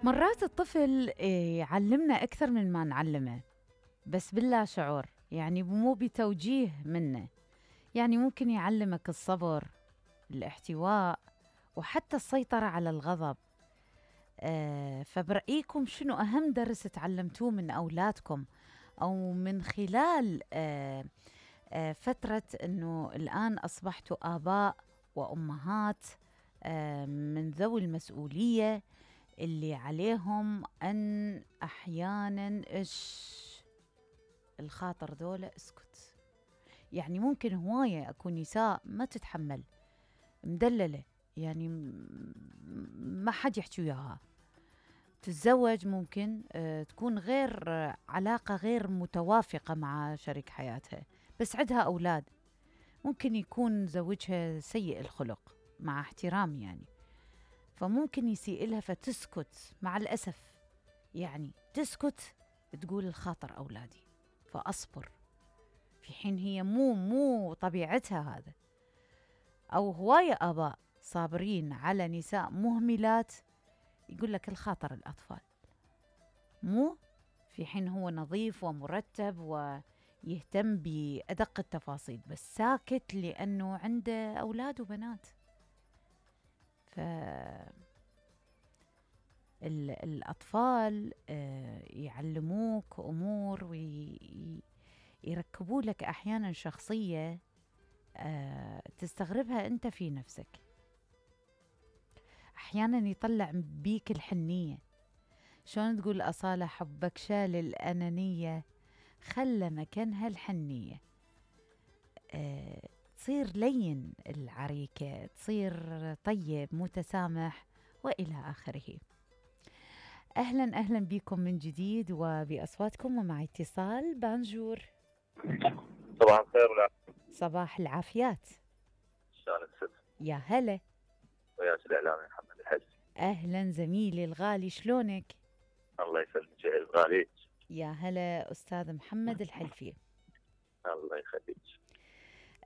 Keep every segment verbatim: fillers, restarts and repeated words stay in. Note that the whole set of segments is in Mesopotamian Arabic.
مرات الطفل يعلمنا أكثر من ما نعلمه، بس باللا شعور، يعني مو بتوجيه منه. يعني ممكن يعلمك الصبر، الاحتواء، وحتى السيطرة على الغضب. آه فبرأيكم شنو أهم درس تعلمتوه من أولادكم، أو من خلال آه آه فترة أنه الآن أصبحتوا آباء وأمهات آه من ذوي المسؤولية، اللي عليهم أن أحياناً إيش الخاطر ذولا اسكت. يعني ممكن هواية أكون نساء ما تتحمل، مدللة، يعني ما حد يحكي وياها، تتزوج ممكن آه تكون غير آه علاقة غير متوافقة مع شريك حياتها، بس عندها أولاد. ممكن يكون زوجها سيء الخلق، مع احترام يعني، فممكن يسيء لها فتسكت مع الأسف، يعني تسكت تقول الخاطر أولادي فأصبر، في حين هي مو مو طبيعتها هذا. أو هواية آباء صابرين على نساء مهملات، يقول لك الخاطر الأطفال، مو في حين هو نظيف ومرتب ويهتم بأدق التفاصيل، بس ساكت لأنه عنده أولاد وبنات. ف الأطفال يعلموك أمور ويركبوا لك أحيانا شخصية تستغربها أنت في نفسك. أحيانا يطلع بيك الحنية، شلون تقول أصالة حبك شال الأنانية خلى مكانها الحنية. تصير لين العريكة، تصير طيب متسامح وإلى آخره. أهلا أهلا بكم من جديد وبأصواتكم، ومع اتصال. بانجور. صباح الخير والعافية. صباح العافيات. شلونك ست؟ يا هلا. وياك الإعلامي محمد الحلفي. أهلا زميلي الغالي، شلونك؟ الله يسلمك الغالي. يا هلا أستاذ محمد الحلفي. الله يخليك.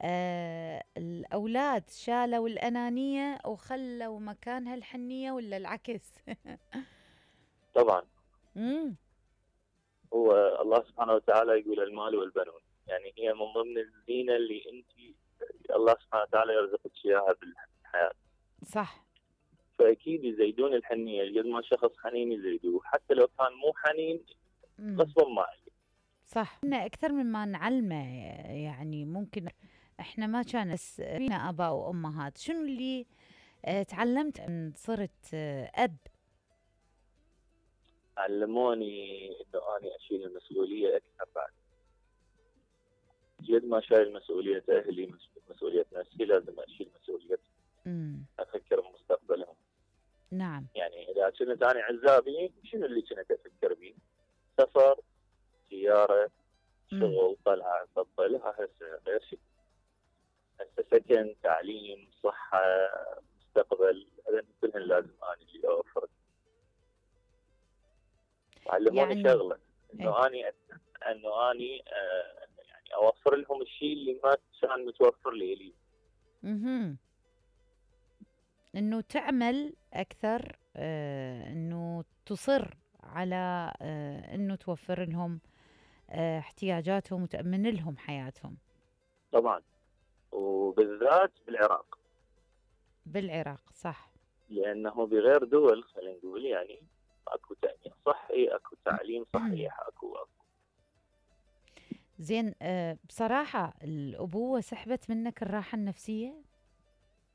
آه الأولاد شالوا الأنانية وخلوا مكانها الحنية، ولا العكس؟ طبعا. امم هو الله سبحانه وتعالى يقول المال والبنون، يعني هي من ضمن الزينة اللي انت الله سبحانه وتعالى يرزقك اياها بالحياة. صح. فأكيد يزيدون الحنية، قد ما شخص حنين يزيدوه، حتى لو كان مو حنين غصبا ما عليه. صح، إحنا أكثر مما نعلمه، يعني ممكن إحنا ما كان فينا آباء وأمهات. شنو اللي اه تعلمت أن صرت اه أب؟ علموني إنه أنا أشيل المسؤولية أكثر. بعد قد ما شايل مسؤولية أهلي، مسؤولية نفسي، لازم أشيل مسؤولية امم أفكر بمستقبلهم. نعم. يعني إذا كنت أنا عزابي، شنو اللي كنت أفكر به؟ سفر، سيارة، شغل، طلعة، تطلع، هسه غير شيء. هسه سكن، تعليم، صحة، مستقبل، هذا كلهن لازم أنا اللي أوفر. علموني يعني شغلة، إنه إيه؟ أني إنه أني آه يعني أوفر لهم الشيء اللي ما كان متوفر لي لي. اها إنه تعمل أكثر، آه إنه تصر على آه إنه توفر لهم آه احتياجاتهم وتأمن لهم حياتهم. طبعا، وبالذات بالعراق. بالعراق صح. لأنه بغير دول خلينا نقول يعني اكو تأمين صحي، اكو تعليم صحيح، اكو اكو زين. أه بصراحة الأبوة سحبت منك الراحة النفسية؟